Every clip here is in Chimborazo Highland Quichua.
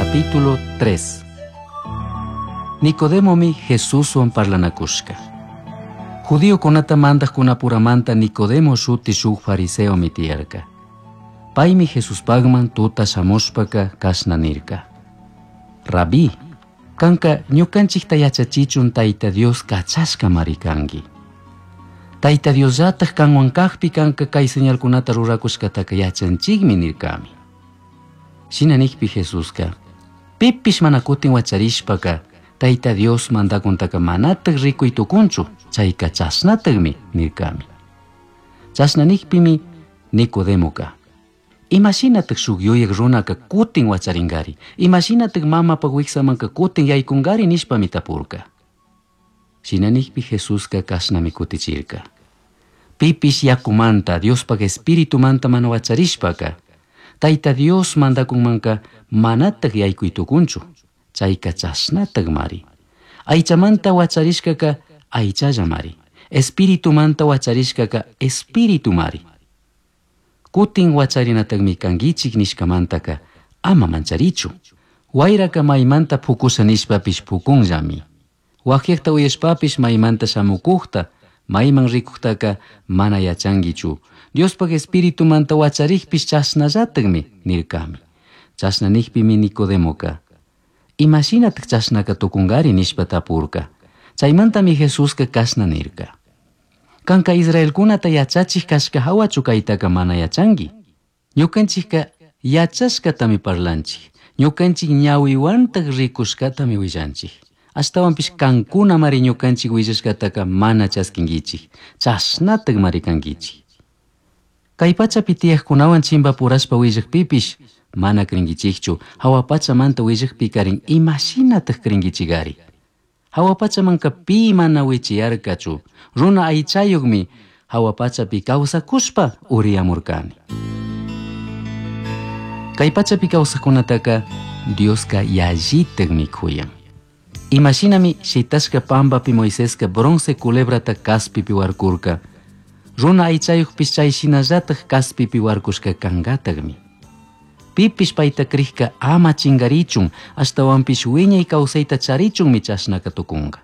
Capítulo 3. Nicodemomi Jesuswan parlanakushka. Judiokunata mandajkunapuramanta Nicodemo shuti shuk fariseomi tiyarka. Paymi Jesuspagman tuta shamushpaka kashna nirka. Rabí, kanka ñukanchikta yachachichun Tayta Dios kachashkamari kanki. Tayta Diosllataj kanwan kajpi kanka kay señalkunata rurakushkataka yachanchikmi nirkami. Shina nikpi Jesuska, pipish mana kutin wacharishpaka Tayta Dios mandakuntaka manataj rikuy tukunchu, chayka chashnatajmi nirkami. Chashna nikpimi Nicodemoka, imashinataj shuk yuyak runaka kutin wacharingari, imashinataj mamapaj wiksamanka kutin yaykunkari nishpami tapurka. Shina nikpi Jesuska kashnami kutichirka. Pipish yakumanta, Diospaj espiritumanta mana wacharishpaka, Tayta Dios mandakunmanka manataj yaykuy tukunchu, chayka chashnatajmari. Aychamanta wacharishkaka aychallamari, espiritumanta wacharishkaka espiritumari. Kutin wacharinatajmi kankichik nishkamantaka ama mancharichu. Wayraka maymanta pukusha nishpapish pukunllami. Wakyakta uyashpapish maymanta shamukujta, mayman rikujtaka mana yachankichu. Diospaj espiritumanta wacharikpish chashnallatajmi nirkami. Chashna nikpimi Nicodemoka, imashinataj chashnaka tukunkari nishpa tapurka. Chaymantami Jesuska kashna nirka. Kanka Israelkunata yachachik kashka hawachu kaytaka mana yachanki. Ñukanchikka yachashkatami parlanchik. Ñukanchik ñawiwantaj rikushkatami willanchik. Ashtawanpish kankunamari ñukanchik willashkataka mana chaskinkichik. Chashnatajmari kankichik. Kay pachapi tiyaqkunawan chimpapurashpa willakpipish mana crinkichikchu. Hawa pachamanta willakpikarin imashinataj crinkichikari. Hawa pachamanka pi mana wichiyarkachu. Runa aychayuqmi hawa pachapi kawsakushpa uriyamurkani. Kay pachapi kawsaqkunataka Dioska yallitakmi kuyan. Imashinami shitashka pampapi Moiseska bronce culebrata kaspipi warkurka. Runa aychayuqpis chay shinallataj kaspipi warkushka kankatakmi. Pipish payta krikka ama chingarichun, ashtawanpish wiñay kawsayta charichunmi chashnaka tukunka.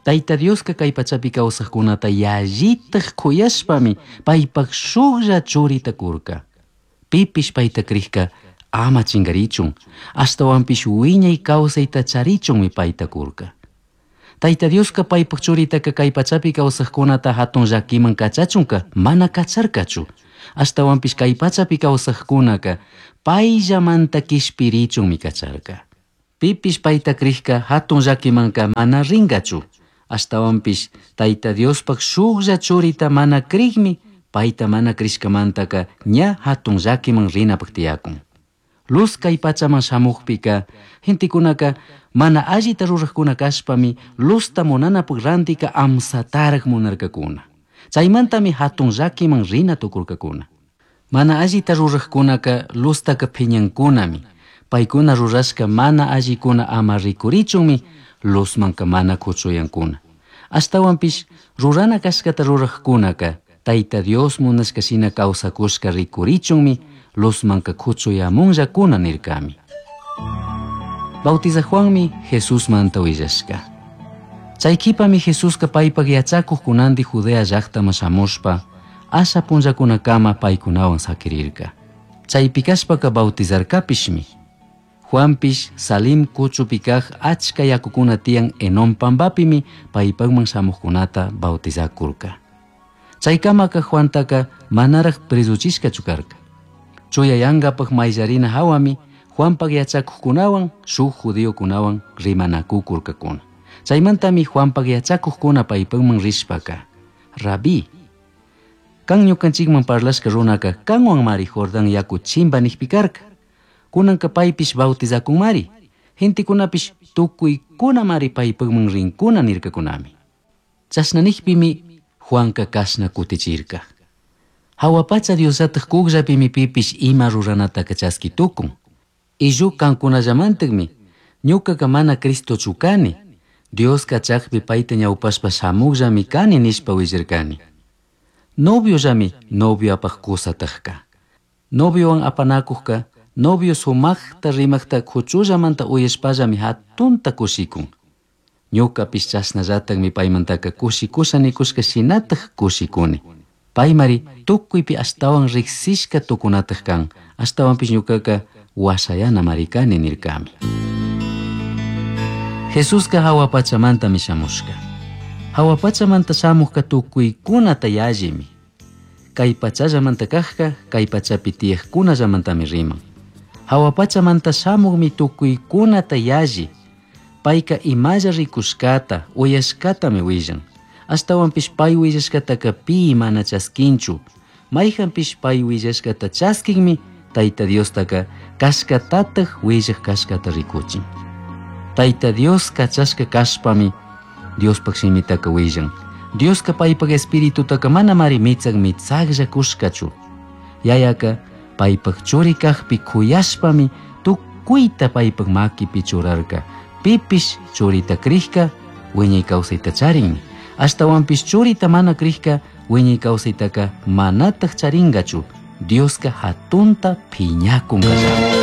Tayta Dioska kay pachapi kawsaqkunata yallitaj kuyashpami paypaj shuklla churita kurka. Pipish payta krikka ama chingarichun, ashtawanpish wiñay kawsayta charichunmi payta kurka. Tayta Dioska paypaj churitaka kay pachapi kawsaqkunata hatun llakiman kachachunka mana kacharkachu. Ashtawanpish kay pachapi kawsaqkunaka payllamanta kishpirichunmi kacharka. Pipish payta krikka hatun llakimanka mana rinkachu. Ashtawanpish Tayta Diospaj shuklla churita mana krikmi payta mana krishkamantaka ña hatun llakiman rinapaj tiyakun. Luz kay pachaman shamukpika gentekunaka mana allita ruraqkuna kashpami luzta munanapaj rantika amsataraq munarkakuna. Chaymantami hatun llakiman rina tukurkakuna. Mana allita ruraqkunaka luztaka phiñankunami. Paykuna rurashka mana allikuna ama rikurichunmi luzmanka mana kuchuyankuna. Ashtawanpish rurana kashkata ruraqkunaka Tayta Dios munashka shina kawsakushka rikurichunmi luzmanka kuchuyamunllakuna nirkami. Bautizaq Juanmi Jesusmanta willashka. Chay qhipami Jesuska paypaj yachakuqkunanti Judea llaqtaman shamushpa asha punllakunakama paykunawan sakirirka. Chaypi kashpaka bautizarkapishmi. Juanpish Salim kuchupi kaq achka yakukuna tiyan Enón pampapimi paypaqman shamuqkunata bautizakurka. Chaykamaka Juantaka manaraq presuchishkachu karka. Chuyayankapaq mayllarina hawami Juanpaq yachakuqkunawan shuk judiokunawan rimanakukurkakuna. Chaymantami Juanpaq yachakuqkuna paypaqman rishpaka, Rabí, kan ñukanchikman parlashka runaka kanwanmari Jordán yaku chimpa nikpi karka. Kunanka paypish bautizakunmari. Gentekunapish tukuykunamari paypaqman rinkuna nirkakunami. Chashna nikpimi Juanka kashna kutichirka. Hawa pacha Diosllataj kukllapimi pipish ima ruranataka chaski tukun. Illu kankunallamantakmi ñukaka mana Cristochu kani. Dios kachakpi payta ñawpashpa shamuqllami kani nishpa willarkani. Noviollami novioapaj kusatajka. Noviowan apanakujka Novio sumajta rimajta cuchullamanta uyashpallami jatunta cushicun. Ñucapish chashnallatajmi paimantaca cushicusha nicushca shinataj cushicuni. Paimari tucuipi ashtahuan rijsishca tucunataj can. Ashtahuanpish ñucaca huashayanamari cani nircami. Jesusca jahua pachamantami shamushca. Jahua pachamanta shamujca tucuicunata yallimi. Cai pachallamanta cajca cai pachapi tiyajcunallamantami riman. Jahua pachamanta shamujmi tucuicunata yalli. Paica imalla ricushcata, uyashcatami huillan. Ashtahuanpish pai huillashcataca pi mana chasquinchu. Maijanpish pai huillashcata chasquinmi Taita Diostaca cashcatataj huillaj cashcata ricuchin. Taita Dios cachashca cashpami Diospaj shimitaca huillan. Diosca paipaj espiritutaca manamari mitsaj mitsajlla cushcachu. Yayaca paipaj churi cajpi cuyashpami tucuita paipaj maquipi churarca. Pipish churita crijca huiñay causaita charinmi. Ashtahuanpish churita mana crijca huiñay causaitaca manataj charingachu. Diosca jatunta piñacuncallami.